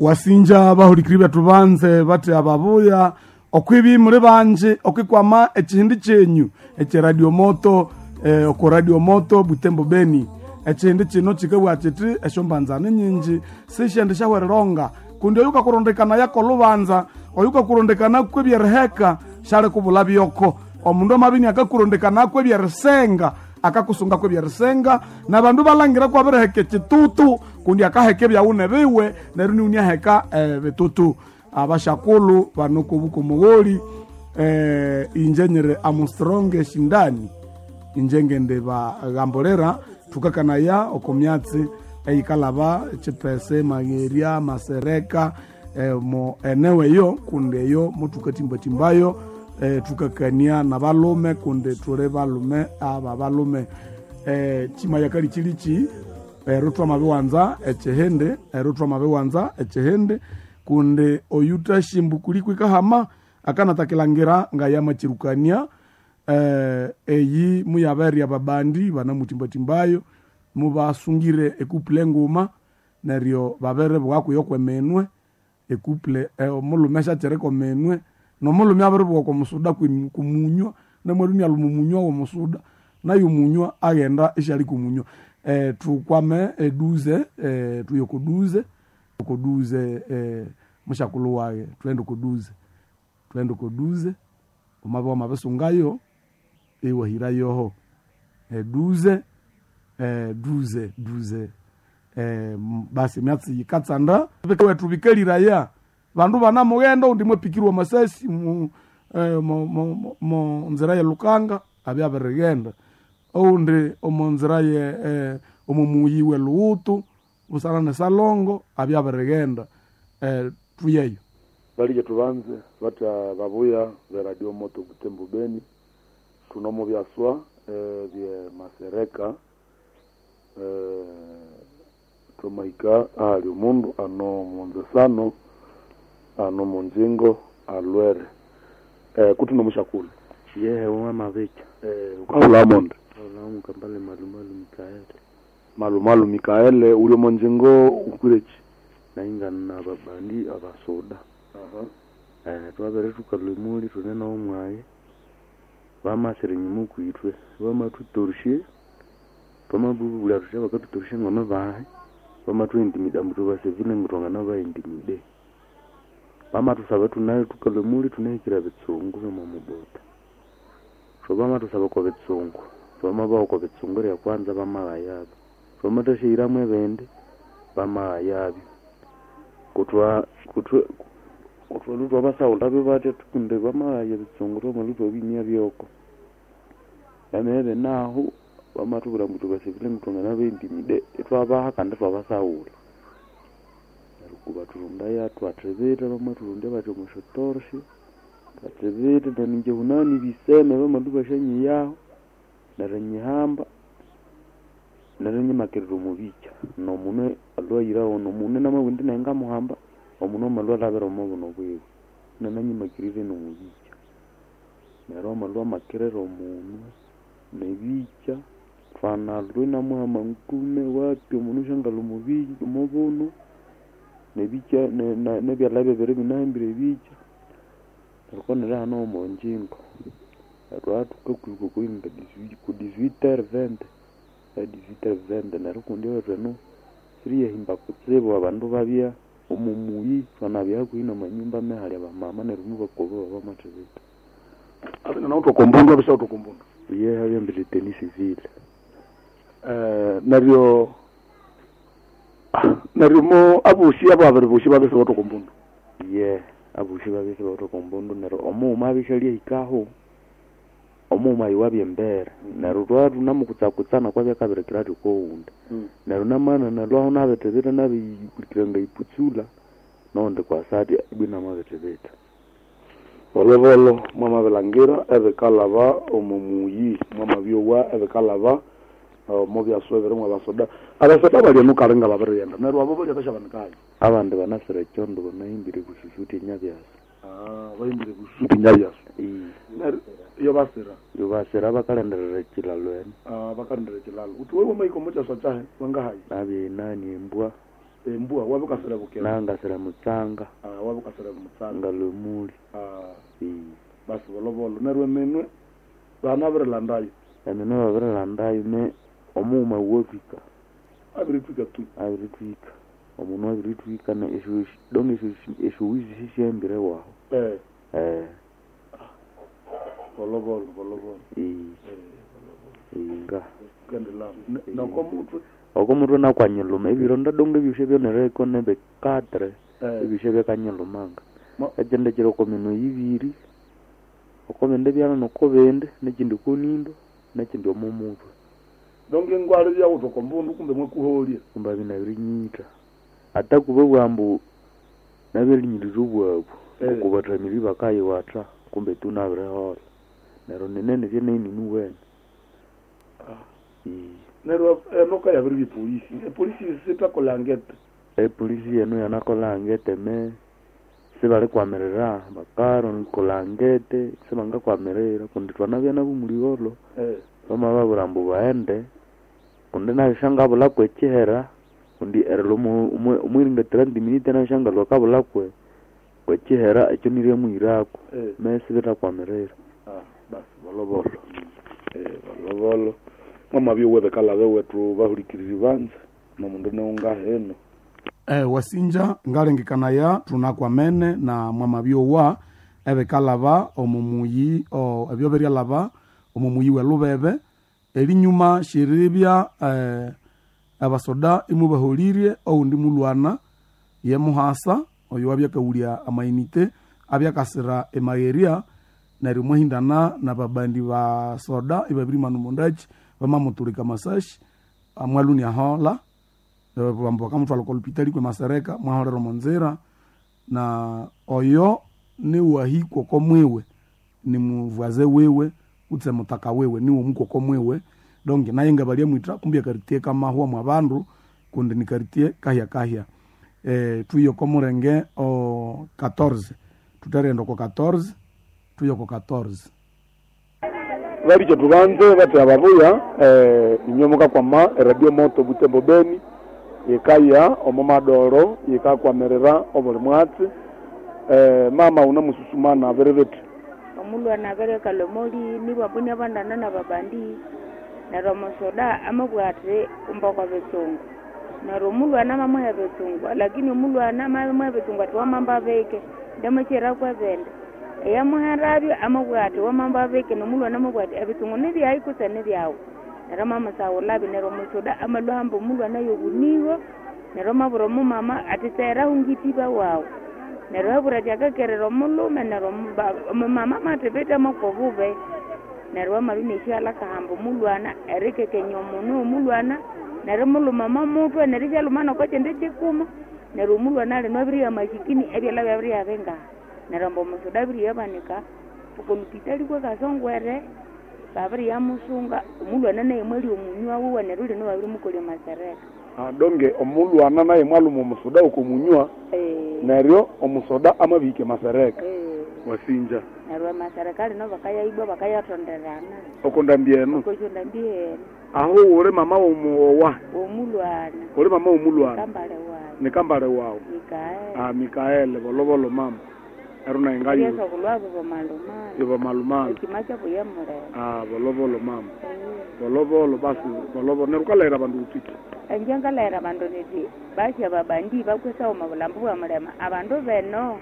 Wasinja bahulikiri bethu banze bathi ababuya okwibi muli banji okwikwama ekihindi kyenyu ekye Radio Moto, oko Radio Moto Butembo Beni. Ekihindi kino kikabugha kiti esyombanzani nyinji sisyendi syahwerilonga kundi oyu kakurondekana yakolubanza, oyu kakurondekana kwebyeriheka syali kubula byoko. Omundu amabini akakurondekana kwebyerisenga akakusunga kwebyerisenga, nabandu balangira kwabiriheka ekitutu kundi akaheka ebyawune biwe neryo niwuni aheka bitutu. Abashakulu banokobuka omugholi, inje nyiri Armstrong Shindani inje ngende bagambulira thukakanaya oko myatsi eyikalaba chipese magherya masereka, mo enewe eyo kundi eyo mothukatimbatimbaayo, thukakania nabalume kundi thuli balume aba balume. Chimaya kalichilichi ero twamabiwanza ekihindi, ero twamabiwanza ekihindi kundi oyutashimbu kuliko ikahama akanatakilangira ngayamachirukania, eyi muyaberya babandi banamutimbatimbayo mubasungire ekuple nguma neryo babere bwakuyo kwemenwe ekuple, omulume syakyiriko menwe nomulume abiribuwa omusuda kumunywa namwalume alumunywa womusuda naye omunywa aghenda isyali kumunywa. Tukwame eduze, tuye kuduze kuduze, mushakulhu waghe thughende kuduze, thughende kuduze wamabya wamabisungayo iwahirayoho eduze, duze duze, basi emyatsi yikatsanda wethu bikaliraya bandu banamughenda oundi mwapikirwa amasasi mu, mo nzira ye Lukanga abya abirighenda, oundi omo nzira ye, omo muyi we Luhutu busana ne Salongo abya abirighenda, thuyeyo. Balije tubanze batya babuya be Radio Moto Butembo Beni tunomo byaswa bye masereka, twamahika ahali omundu ano munzesano ano munjingo alwere, kuti nomushakulu. Yehe wamabicha. Ukahula monde. Kaulamu kambale malumalu Mikaele. Malumalu Mikaele uli omonjingo ukwireki? Naingana na babandi abasoda. Twabere thukalwa emuli thune n'omwayi bamasira enyuma okwithwe bamathutorosye twamabubulya thuthi bakathutorosya ngome bahi bamathuintimida ambu thubasevile ngu thwanganabaintimide. Bamathusaba thuna thukalwa emuli thunahikire ebitsungu byomomubota. So bamathusaba okwa bitsungu twamabaha okwa bitsungu eryakwanza bamaghayabyo twamathasyaghiramu ebindi bamaghayabyo. Kuthwa kuthwe kuthwalhwa thwabasahulhabyo batya kundi bamaghaya ebitsungu thwamalhwa ithwabimya byoko. Emibiri nahu bamathubwira ambu thubasevile ngu thwanganabaintimide ithwabaha kandi ithwabasahulha. Neryo kubathurundaya thwathibitha bamathurundya bathi omwa syatorosi thwathibitha neryo ingye hunani ebiseme bamalhwa ibasyanyihaho neryo nyihamba neryo inyimakirira omo bikya nomunwe alhwa ayiraho nomunwe namabugha indi nayi ngamuhamba omunwe amalhwa alhabira omo buno bwiwe inananyimakirire nomo bikya. Neryo amalhwa amakirira omunwe nebikya thwanalhwa inamuhama nkume wapi omunwe isyangalha omo buno nebikya nebyalha bibiri ibinahambire ebikya neryo kwanira hano omonjingo. Thwathukakwika okwa ku 18h20, 18h20 neryo kundi ewethu eno siriyahimba kutsibu abandu babya omo muyi thwanabya hakuhi namanyumba amehali abamama neryo mubakoba bamathibitha. Abina nawuthe okombundu abisawuthe okombundu? Iye abyambire teni civil. Neryo neryo mo abosi ababiri bosi babya isibawithe okombundu? Iye abosi babya isibawithe okombundu neryo omughuma abya isyalyahikaho omughuma oyo wabya embere neryo thwabya thunamukutsakutsana kwabya akabirikira athi okowundi. Neryo namana nalhwaho nabithibitha nabiyihulukira ngayiputsula nowundi kwasa athi ibwa inamabithibitha. Bolobolo mwamabilangira ebikalhaba omo muyi mwamabyowa ebikalhaba omo byaswa ebiri mwabasoda. Abasoda bali eno kali ngababirighenda neryo abo balya basyabanikayo? Abandi banasira ekyondo banahimbire bususuti enyabyasa. Bahimbire bususuti enyabyasa. Neryo iyo basira? Iyo basira bakalindirira ekilalo eno. Bakalindirira ekilalo. Wuthi wewe wamahika omo kyaswa kyahi wangahayi? Nabya enani embwa. Embua wabukasira bukera. Nangasira mutsanga. Ah, wabukasira mutsanga. Ngalwa emuli. Ah. Ee. Basi bolobolo neryo eminwe banabirilandayo. Eminwe babirilandayo me omughuma wuwathwika. Abiritwika tu. Abiritwika. Omundu abiritwika na esyo donge esyowizi sisyahambire waho. Eh. Eh. Bolobolo bolobolo. Ee. Inga. Kendela. Noko mutwe. Oko mutwe nakwanyiluma ebironda donge ebyosya byonereko nebe 4. Eh. Ebyosya byakanyilumanga. Ma- Ekindi kiri oko minwe ibiri. Oko bindi byana noko bindi, nekindi konindo, nekindi omo mutwe. Donge ngwale byawutha oko mbundu kumbe mwakuholya. Kumbe binabirinyitha. Ata kuba bwambu nabirinyirira obwabu. Eh. Oko bathamiri bakayiwatha kumbe tu nabirihola. Neryo ninene byenenini wene. Ah. Ee. Neryo enoka yabiribya epolisi. Epolisi sitakola ngete. Epolisi yenu yanakola ngete me sibalikwamirira bakakola ngete sibangakwamirira kundi twanabya nabo muliholo. Eh. Bamababwira ambu baghende kundi nabisya ekihera kundi erilwa omwiringa 30 minutes nabisya ngalhwa akabulha kwekihera ekyo niryamuhirako. Eh. Me sibithakwamirira. Ah, basi bolobolo. Eh, bolobolo. Mwamabya webekalhabe wethu bahulikiriri banza nomundu niungaheno. Wasinja ngalengekanaya thunakwamene na mwamabyowa ebikalhaba omo muyi ebyo biryalhaba omo muyi welubebe erinyuma syeribya abasoda imubaholirye owundi mulwana ye muhasa oyo wabyakawulya amainite abyakasira emagheria neryo mwahindana nababandi basoda ibabirimana omondaki bamamutulika amasashi amwaluni ahola bambu bakamutwala oko lupitali kwe masereka mwaholera omonzira na oyo niwahikwa oko mwiwe nimuvwaze wiwe kutse mutaka wiwe niwe omukwa mwiwe donc naye nga balyamwitha kumbi akaritie kamahwa mwa bandu kundi ni karitie kahya kahya. Tuye oko mulenge o 14 thutherighenda oko 14 tuye oko 14. Balikyo tubanze bathi ababuya inywe mukakwama eradio moto Butembo Beni yikaya omo madoro yikakwamirira obuli mwatsi. Mama unamususumana abiribithi. Omulwana abirekalha omoli nibwabunia bandana nababandi neryo omusoda amabugha athi kumbe okwa bitsungu neryo omulwana amamuha ebitsungu lakini omulwana amamuha ebitsungu athi wamamba bike ndamakyira kwebindi eyamuherabyo amabugha athi wamamba bike nomulwana amabugha athi ebitsungu nibyayi kutse nibyawu neryo amamusaghulabyo neryo omusoda amalhwa hamba omulwana yobuniho neryo amabwira omumama athi tserahu ngitiba wawu neryo abwira athi akakerera omulhume neryo omumama amathibitha amakwa obubi neryo amalhwa inesyalha akahamba omulwana erikekenya omunu omulwana neryo mulhuma omomutwe neryo isyalhuma nokokyindi kyikuma neryo omulwana alino abiriya masikini ebyalha byabiriya bingaha neryo ambu omusoda abiriyabanika okolupitali kwekasongwere babiriyamusunga omulwana naye mwali omunywa wuwe neryo lino babirimukolya masereka. Donge omulwana naye mwalhuma omusoda oko munywa neryo omusoda amabihika masereka. Wasinja. Neryo amasereka lino bakayaibwa bakayathonderana. Oko ndambi eno. Oko ndambi eno. Aho uli mama womuowa. Omulwana. Uli mama womulwana. Kambale wawu. Ni kambale wawu. Mikaeli. Ah, Mikaeli bolobolo mama. Ero naye ngayo. Yesu kulwabo bomalumala. Yobo malumala. Ekima kyabo yamulema. Ah, bolobolo mama. Bolobolo basi bolobolo neryo ukalahira abandu uthiki. Inje ngalahira abandu nithi basya babandi bakwesa omo bulambu bwa mulema abandu beno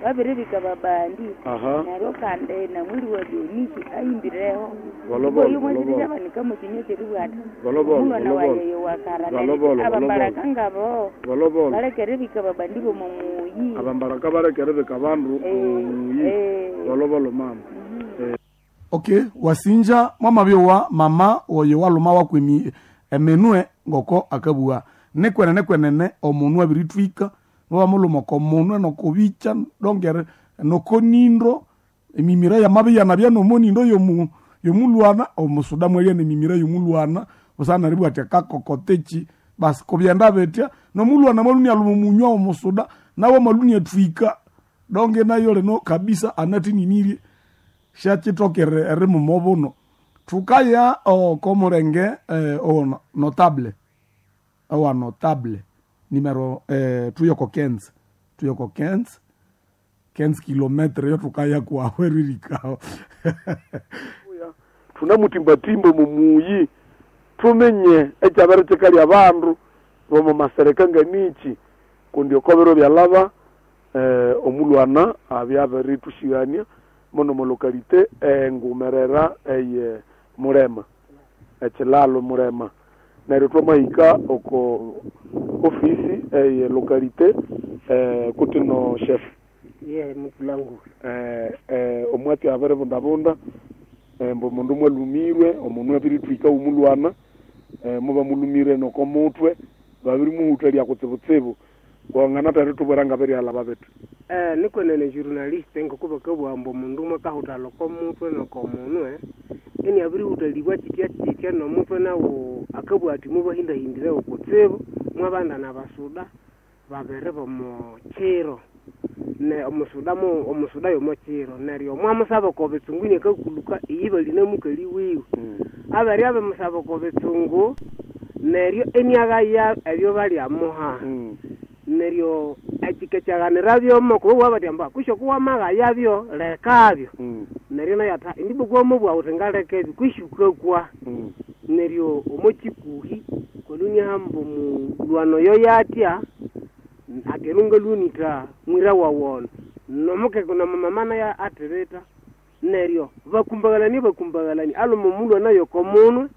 babiribika babandi. Aha. Neryo kandi namwiri wa Doniki ahimbireho. Bolobolo, Oyo mwasirya bolobolo. banika mukinywa kyeribwa athi Bolobolo, omulwana bolobolo. waye wakara Bolobolo, abambaraka ngabo. Bolobolo. Balekeribika babandi bomomuyi. Abambaraka balekeribika abandu omuyi. Bolobolo mama. Okay, wasinja mwamabyowa mama oyo walhuma wakwemi eminwe ngoko akabugha nikwenene kwenene omunu abirithwika mubamulhuma oko munwe nokobikya dongere nokonindo emimira yamabya nomonindo yomulwana omusuda mwalya nemimira yomulwana busana neribugha athi akakokoteki basi kubyenda bitya nomulwana mwalhunia alhuma omunywa omusuda nawe mwalhunia athwika donge nayo lino kabisa anathininirie syakyithokere erimuma obuno. Thukaya oko mulenge owo notable owa notable. Numero tuyoko 15. Tuyoko 15. 15 kilometre yo tukaya kwawe ririkao. Tunamutimbatimba mumuyi tumenye ekyabere kyikali abandu bomo masereka nganichi kundi okobero byalaba omulwana abyabirithushigania mono molokalite engumerera eye Mulema ekilalo Mulema neryo twamahika oko ofisi eye lokalite kuti no chef ye mutulangula omwati abiribundabunda mbu omundu mwalumirwe omundu abirithwika omulwana muba mulumire noko mutwe babirimuhuthalya kutsibutsibu kwangana tari tubwera ngabiryalaba bithi nikwenene journaliste ngoko bakabugha ambu omundu mwakahuthalha oko mutwe noko munwe eni abirihuthalibwa kitya kitya nomutwe nawu akabugha athi mubahindahindirewo kutsibu mwabanda nabasuda babiri bomo kiro ne omusuda omusuda yomo kiro neryo mwamusaba oko bitsungu inakakuluka iyi bali namukali wiwe abari abimusaba oko bitsungu neryo eniaghaya ebyo balyamuha neryo ekikekyaganira byomo kuba bathi amba kwisho kuwamaghayabyo lekabyo neryo nayo ata indibo kuwamubugha wuthi ngaleka ebyo kwisho ukakwa neryo omo kikuhi koluniahamba omulwano oyo yatya akerunga lunita mwira wawono nomukeke nomumama naye athirita neryo bakumbaghalani aluma omulwana yokomunwe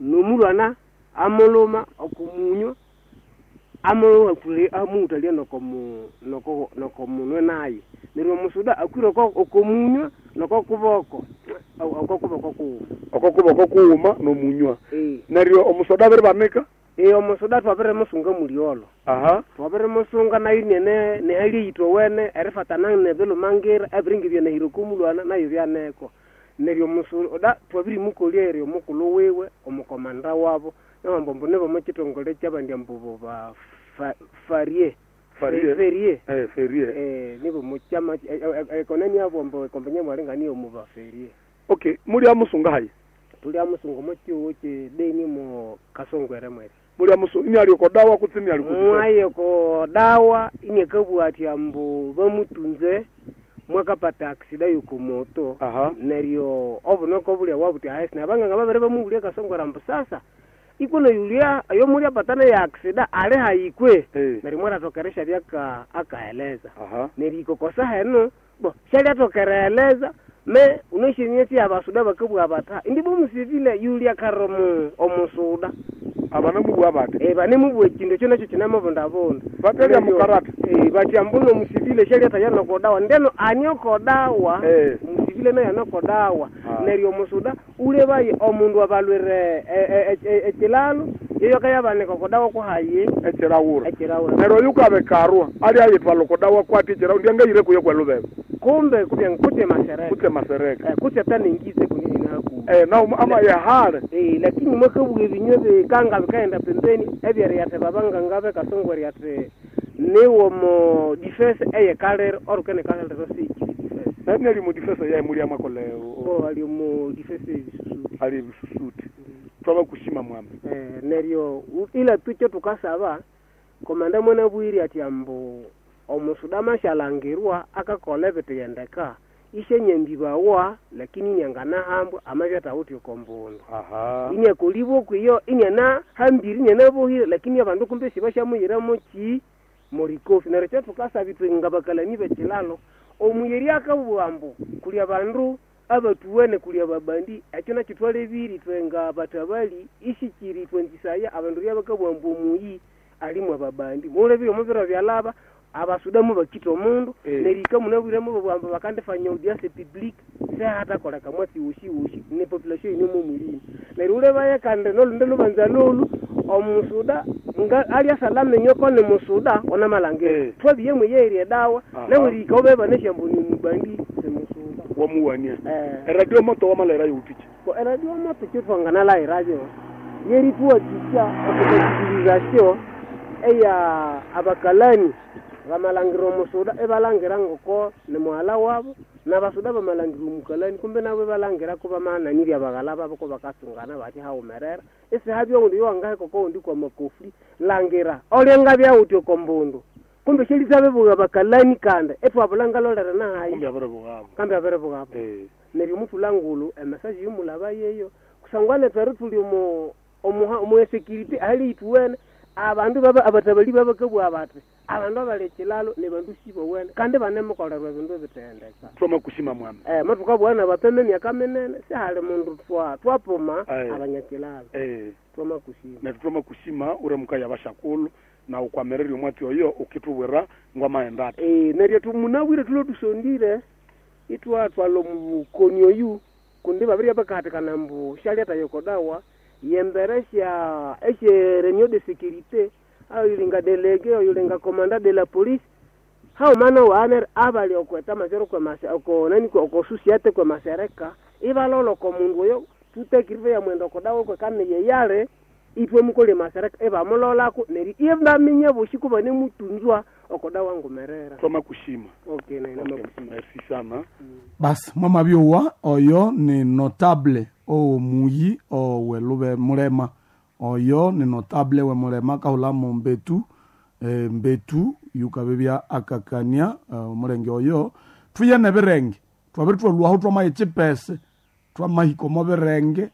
nomulwana amuluma okumunywa amuhuthalya nokomunwe naye neryo omusuda akwire okomunywa nokokuboko okokuboko kuwuma okokuboko kuwuma nomunywa neryo omusoda abiribanika omusuda twabirimusunga mulyolo aha twabirimusunga nayo nene nehali eyithowene erifatana nebilumangira ebiringa ebyanahire okomulwana nayo byaneko neryo omusuda twabirimukolya eryo omukulhu wiwe omukomanda wabo nabambombo nibo mukithongole kyabandi ambubo ba farie ferie ferie nibo mukyama ekonani abo ambo ekombenya mwalinga omuba ferie okay mulyamusunga hayi tulyamusunga omukyuwo kyedeni mu kasongwere mweri mulyamusunga ini ali oko dawa kutse ini ali mwaye oko dawa ini akabugha athi ambu bamutunze mwakapata aksida yokomoto neryo obunoko bulya wabuthi ahesi nabanganga babere bamuwulya kasongwere ambu sasa ikuno yulia ayo mulyapatana ya aksida ali hayikwe neryo mwarathokeresha byaka akaeleza neryo ikokosa henu bo shalyathokereeleza me unoshenieti abasuda bakabugha batha indibo omusivile yulia karo omusuda abanamubugha bati banemubugha ekindu ekyo nakyo kinamubundabunda batelya mukarata bathi ambuno omusivile shalyatha nokodawa ndeno ani okodawa omusivile naye anokodawa neryo omusuda ulebaye omundu abalwire ekilalo yeyo kayabanika okodawa kuhaye ekirawura ekirawura neryo oyu kabikarwa ali ayithwala okodawa kwati ekirawura ndyangayire kuyo kwelubebe kumbe kubya kutse masereka kutse masereka kutse tanengize kunini haku na ama yehale lakini mwakabuga ebinywa bikanga bikaenda pembeni ebyeriyathe babanganga bekasongweri ati niwo mo defense eyekalere orukene kalere sikiri defense nani ali mu defense yaye muli amakole bo ali mu defense ebisusuti ali ebisusuti twabakushima mwambe neryo ila tukyo tukasaba komanda mwana bwiri ati ambu omusuda mashalangirwa akakola ebitiyendeka ishenyembibawa lakini inyanganahambwa amabyatawuthi okombundu inyakolibwa okwiyo inyanahambire inyanabohire lakini abandu kumbe sibashamuyiramo ki morikofi neryo kyathukasaba ithwe ngabakalani bekilalo omuyeri akabugha ambu kuli abandu abatuwene kuli ababandi ekyo nakyo twalebire ithwe nga batabali isikiri ithwe nzisaya abandu ryabakabugha ambu omuyi alimu ababandi mulebire omubiro byalaba abasuda mubakita omundu nerika munabwiremo babwamba bakandifanya audience publique sehatakoleka mwatsi woshi woshi ne population ine mumulini neryo ulebaye kandi nolunde lubanza lolu omusuda nga alya salama enyoko ni musuda onamalangiro twabiye mweyerya edawa nawe rika obeba neshambu ni mubandi semusuda wamuwania eradio moto wamalera youtiki eradio moto kyotwanganalairayo yerituwakisya okubakizirizasyo eya abakalani bamalangira omusuda ebalangira ngoko ni muhala wabo N'abasoda bamalangira omukalani kumbe nabo ibalangirako bamananirya abaghala babo ko bakatsungana bati haghumerera. Isihabya owundi yowangaheka okowundi kw'amakofli langira olyangabya wuthi oko mbundu. Kumbe syalisabibugha abakalani kandi ithwabulha ngalolere nahayi. Kumbe abiribughabo. Kambe abiribughabo. Neryo omuthulangulhu emesaje yomulaba yeyo kusangwa nethu eri thuli omu omu insecurity ahali ithuwene abandu baba abatabali babakabugha bati abandu abali ekilalo nibandu sibowene kandi banemukolerwa ebindu ebithendeka. Twamakushima mwami. Mathukabugha nabapema emyaka minene sihali mundu twapuma abanyakilalo. Twamakushima. Nethu twamakushima ure mukaya abashakulhu na ukwamererya omwatsi oyo ukithubwira ngwamaghenda athi. Neryo tumunabwire thulwe thusondire ithwathwalha omubukoni oyu kundi babirya bakahatikana ambu syalyatha yokodawa yembere sya esye réunion de sécurité oyulinga délégué oyulinga commandant de la police hauma nowaanere abali okweta majoro oko nani oko société kwemasereka ibalolha oko mundu oyo tutekirive yamwenda okodawa kwekaniye yali ithwe mukolya emasereka ibamulolako neryo ibaminya bosi kubanemutunzwa okodawa ngumerera. Twamakushima. Okay, naina makushima. Merci sana. Basi mwamabyowa oyo ni notable owomuyi owelube mulema oyo ni notable wemulema kahulamo mbetu mbetu yukabibya akakania omulenge oyo thuye nebirenge twabiri twalwaho twamaya echipese twamahika omo birenge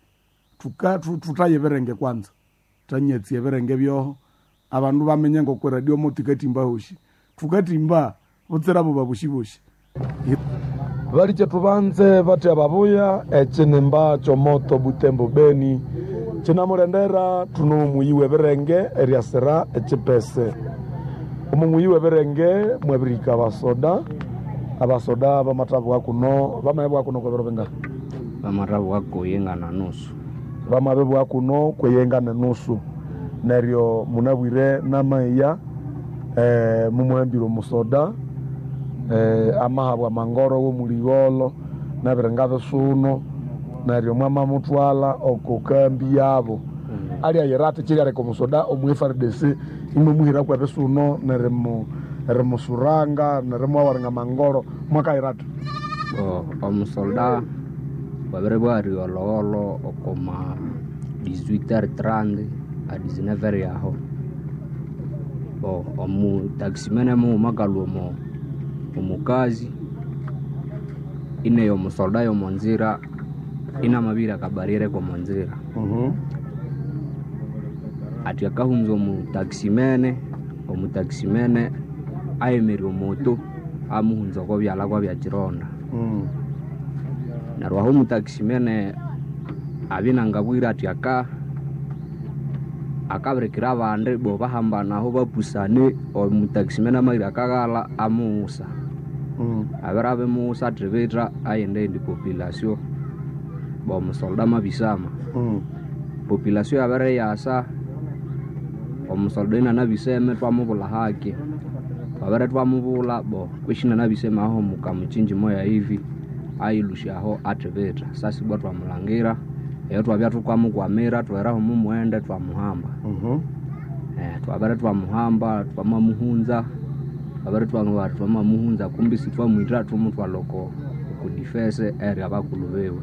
thuthaye ebirenge kwanza thanyatsi ebirenge byoho abandu bamenye ngoko radio mo tukatimba hoshi tukatimba butsira buba bushi Valiche tuvanze vati ababuya echinimba chomoto Butembo Beni chinamulendera tuno muyi w'ebirenge eryasira echipese. Omu muyi w'ebirenge mwabirika abasoda abasoda bamatabwa kuno bamabwa kuno kwebiro bingahi? Bamatabwa kuyenga na nusu. Bamabibwa kuno kweyenga na nusu. Neryo munabwire namaiya mumuhambire omusoda amahabwa mangoro w'omuligholo nabiringa bisuno neryo mwamamutwala oko kambi yabo. Alyayira ati kiryaleka omusoda omu FARDC imwemuhiraku ebisuno nerimusuranga nerimwawaringa mangoro mwakayira ati omusolda babiribwariwa olhogholo okoma 18h30 a 19h yaho. Omutaximene mughuma akalhwa omukazi ineya omusolda yomonzira inamabira akabarriere komonzira. Athi akahunza omutaximene ayemerya omoto amuhunza oko byalha kwabya kironda. Neryo aho omutaximene abya inangabwire athi akabirikira abandi bo bahambana aho bapusane omutaximene amabiri akaghalha amuwusa. Abere abimuwusa athibitha aghenda eyindi population bo omusolda amabisama. Population yabere yasa omusolda inanabiseme twamubulha haki. Twabere twamubulha bo kwishi inanabiseme aho mukamuchinji moya hivi ayilusya aho athibitha. Sasa ibwa twamulangira eyo twabya thukamukwamira twaheraho mumughende twamuhamba. Twabere twamuhamba twamamuhunza twabere twamamuhunza kumbi sithwamwitha thumuthwalha oko defense eri abakulhu biwe.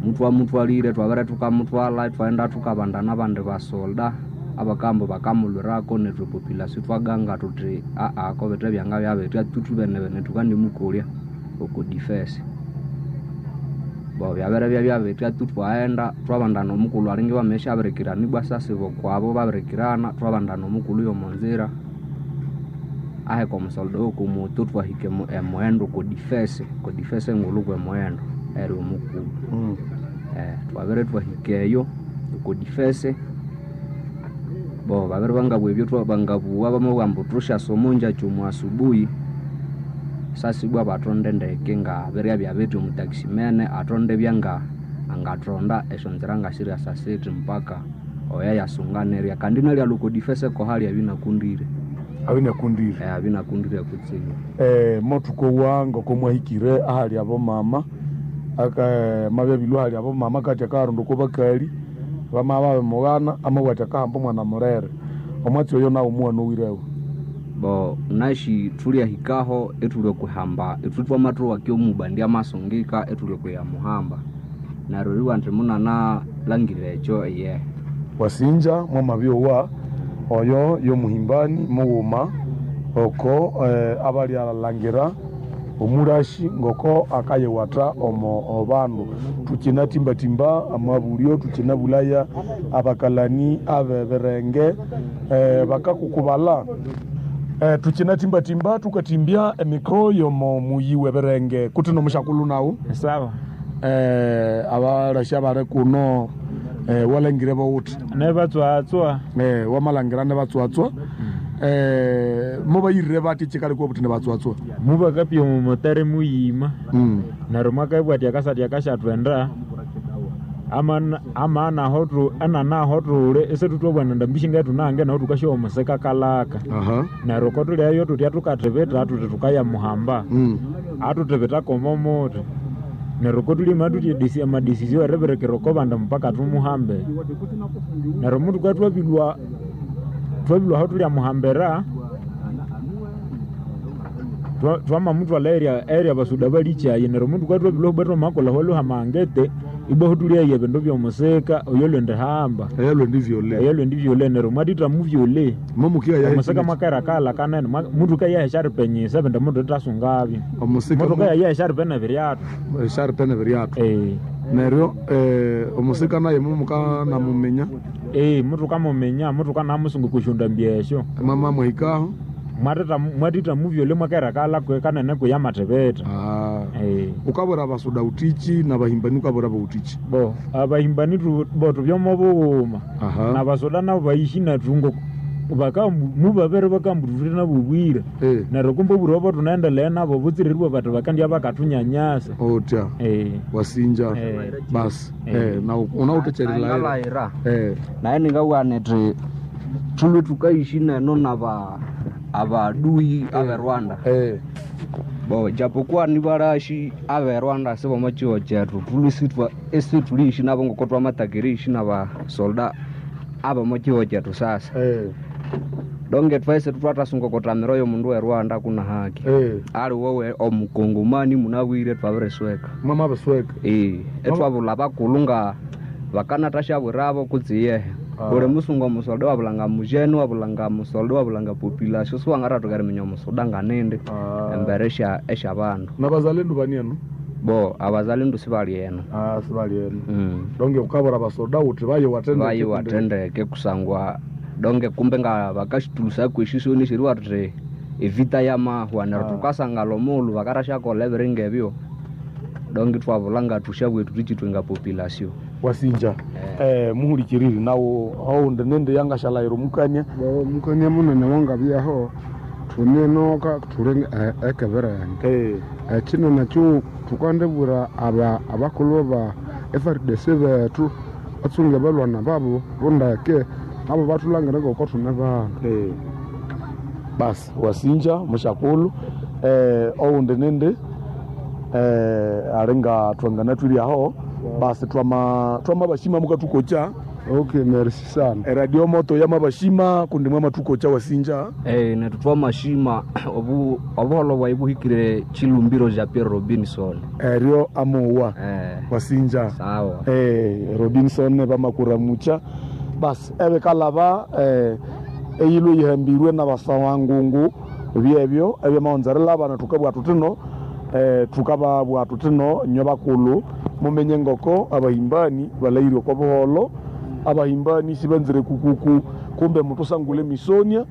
Muthwamuthwalire twabere thukamuthwalha ithwaghenda thukabandana abandi basolda abakamba bakamulhwirako nethu epopulation ithwaganga thuthi kobithe byangabya bitya thuthubenebene thukandimukolya oko defense. Bo byabere byabya bitya thwaghenda thwabandana omukulhu alinga iwamabishabirikirana ibwa sasiba okwabo babirikirana thwabandana omukulhu yomonzira aheka omusolda owokomoto thwahika emughendo oko defense engulhu kwemughendo eri omukulhu. Twabere thwahika eyo oko defense bo babere bangabugha ebyo bangabugha bamabugha ambu thusyasa omonjakya omu asubuhi sasa ibwa bathonde ndeke nga biryabya bithi omutaximene athonde ibya angathonda esyonzira ngasiryasa sithi mpaka oyo yasunganerya kandi nalyalha oko defense kohalya abinakundire. Abinakundire. Abinakundire kutsibu. Mothukowa ngoko mwahikire ahali abomama mabyabilwa ahali abomama kati akaharunda oko bakali bamabya babimughana amabugha athi akahamba omwana mulere omwatsi oyo nawu muwana owirewo. Bo nashi thulyahikaho ithulya okuhamba ithwe thwamathowa omubandi amasungika ithulya okuya muhamba. Neryo eribugha indi munanalhangira ekyo iyehe. Wasinja mwamabyowa oyo yomuhimbani mughuma oko abalyalhangira omulashi ngoko akayewatha omo bandu. Tukyinatimbatimba amabulyo, tukyinabulaya abakalani abebirenge bakakukubalha. Tukyinatimbatimba tukatimbya emikro yomo muyi w'ebirenge kuti nomushakulhu nawu. Sawa. Abalashi abali kuno walangire bawuthi? Nebatswatswa. Wamalhangira nebatswatswa. Mubayirire bathi ekikaleka obuthi nebatswatswa? Mubakapya omumotari muyima. Neryo mwakabugha athi akasatya kasyathwenda ama naho thuli isithutwabana ndambi shingaye naho thukasyowa omusika kalaka. Neryo kotulyayo thutya thukathibita thuthi thukayamuhamba. Athuthibitako omo muthi. Neryo kotulima thuthi amadecision eribirikira oko bandi mpaka thumuhambe. Neryo muthukabya thwabilhwa aho thulyamuhambira, twamamuthwalha eri abasuda balikyayi. Neryo muthukabya thwabilhwa ibwa thwamakolha aho hamangete, ibwa aho thulyaya ebindu by'omusika oyo lwendihamba. Eyo lwendivyole. Eyo lwendivyole neryo mwathitha muvyole. Omusika mwakaira kalha kanene, muthukaya esyaripenyisa ebindi muthithasungabyo. Omusika Muthukaya esyaripene ebiryathu. Esyaripene ebiryathu. Neryo omusika naye mumukanamuminya? Muthukamuminya, muthukanamusunga okwa syondambi esyo. Mwama mwahikaho? Mwathitha muvyole mwakaira kalha kanene kuya amathibitha. Ukabwira abasuda wuthiki nabahimbani ukabwira bawuthiki? Bo abahimbani bo thubya omo bughuma. Nabasuda nabo bayishi nethu ngoko mubabere bakambu thuthe nabo obwira. Neryo kumbe obwira obo thunaendelea nabo butsire eribugha bathi bakandya bakathunyanyasa. Otya. Wasinja. Basi. Na unawuthekyerera. Ngalayira. Naye ningabugha nithi thulhwe thukayishi neno naba abaduyi abe Rwanda. Bo japokuwa nibalashi abe Rwanda sibomo kyihugho kyethu, thulhwe isithuliyishi nabo ngoko thwamathaka eriyishi nabasolda abomo kyihugho kyethu sasa. Donge thwese thwathasunga okuthamira oyo mundu we Rwanda kuna haki. Aliwe omukongomani munabwire thwabirisweka. Mwamabisweka? Ithwabulha abakulhu nga bakanathasyabwirabo kutse iyehe. Buli musungu omusolda wabulhanga mujene, wabulhanga musolda, wabulhanga population, siwangathathoka eriminya omusoda nganindi embere esyabandu. Nabazalendu bani eno? Bo abazalendu sibali eno. Sibali eno. Donge ukabwira abasoda wuthi bayiwathe ndeke. Bayiwathe ndeke kusangwa donge kumbe nga bakasithulusaku esisoni esyeribugha thuthi evita yamahwa neryo thukasangala omughulhu bakathasyakolha ebiri ngebyo donge ithwabulha ngathusyabugha thuthi ithwe nga population. Wasinja. Muhulikiriri nawu owundi nindi yangasyalayira omukania. Bo mukania munene wangabyaho thune enoka thuli ekebirenge. Ekino nakyo thukandibwira abakulhu ba FARDC bethu batsunge balwana babo bundeke nabo bathulangire ngoko thune bandu. Basi wasinja mushakulhu. Owundi nindi alinga thwanganathwiryaho basi twamabashima mukathukokya. Okay, merci sana. Eradio moto yamabashima kundi mwamathukokya wasinja. Nethu twamashima obuholho bwayi buhikire Chilumbiro Jean Pierre Robinson. Eryo amowa. Wasinja. Sawa. Robinson bamakuramucha. Basi ebikalaba eyilwe yihambirwe nabasawangungu byebyo ebyamaghunza erilaba thukabugha thuthino thukababugha thuthino inywe bakulhu mumenye ngoko abahimbani balahirwe okwa buholho, abahimbani sibanzire kukuku kumbe muthusangule emisonia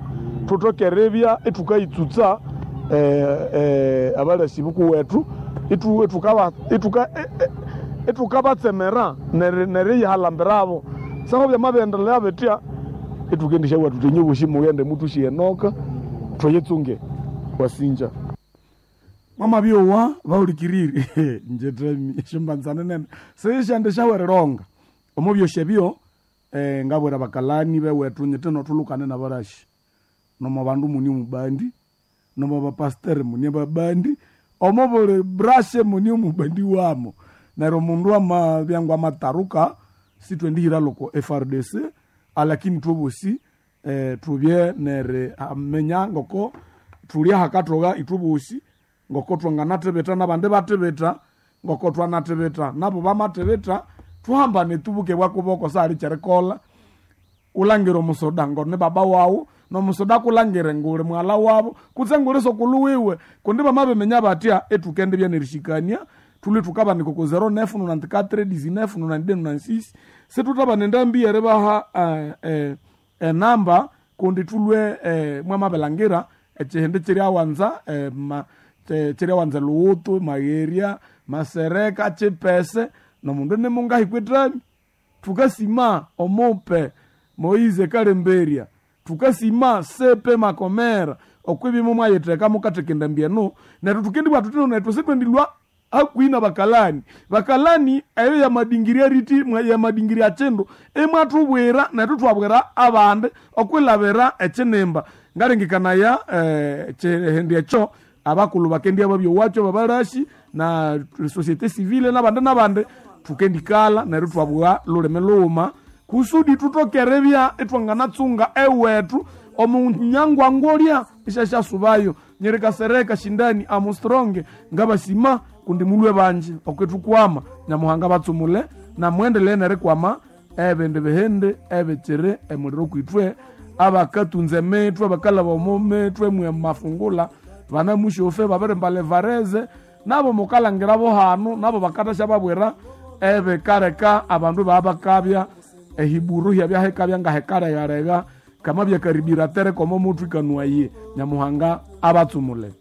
thuthoke eribya ithukayitsutsa abalasi bukuwethu ithukabatsemera neriyihalambirabo. Saho byamabyendelea bitya ithukendisyawa thuthi inywe bosi mughende muthusye enoka thuyitsunge. Wasinja. Mwamabyowa bahulikirire njetami esyombanza nene sisyandi syawerilonga omo byosi ebyo ngabwira bakalani bewethu nyithino thulukane nabalashi nomo bandu muni omubandi nomo bapasiteri muni ababandi omo buli brashe muni omubandi wamo. Neryo omundu amabya ngwamataruka sithwendihira loko FRDC alakini thwebosi Tubye neri amenya ngoko thuli ahakathoga ithwe bosi, ngoko twanganathibitha nabandi bathibitha, ngoko twanathibitha nabo bamathibitha, thuhambane tubuke bwakuboko sahali kyerikolha. Ulangire omusoda ngoni baba wawu, nomusoda akulangire nguli mughala wabo kutse nguli sokulu wiwe, kundi bamabiminya batya ithukendibya nerishikania. Thulwe thukabanika oko 09 94 19 92 96. Situthabana endambi yeribaha enamba kundi thulwe mwamabilangira ekihindi kyiryawanza kyiryawanza Luwutu, Magherya, Masereka, Chipese nomundu nimungahikwa ethami. Thukasima omupe Moize Kalemberya, thukasima Sepe Makomera okwibimo mwayitheka mukatheka endambi eno. Neryo thukendibugha thuthi nethu sithwendilhwa hakuhi na bakalani. Bakalani eyo yamadingiria riti yamadingiria kindu imwathubwira nethu thwabwira abandi okwilabira ekinimba. Ngalengekanaya ekihindi ekyo abakulhu bakendya babyowakyo babalashi na société civile nabandi nabandi, thukendikalha neryo thwabugha lulimi lughuma kusudi thuthokerebya ithwanganatsunga ewethu omunyangwangolya isyasyasubayo. Nyerikasereka Shindani Armstrong ngabasima kundi mulwe banji okwithukwama. Nyamuhanga batsumule namwendelee nerikwama ebindi bihindi ebikiri emuliro kwithwe abakatunza emitwe abakalaba omo mitwe mwe mafungula banamushofe babirimba levareze nabo mukalangira bo hanu nabo bakathasya babwira ebikaleka abandu babakabya ehiburu hyabya ngahekaregarega kama byakaribira tereka omo muthu ikanuwaye. Nyamuhanga abatsumule.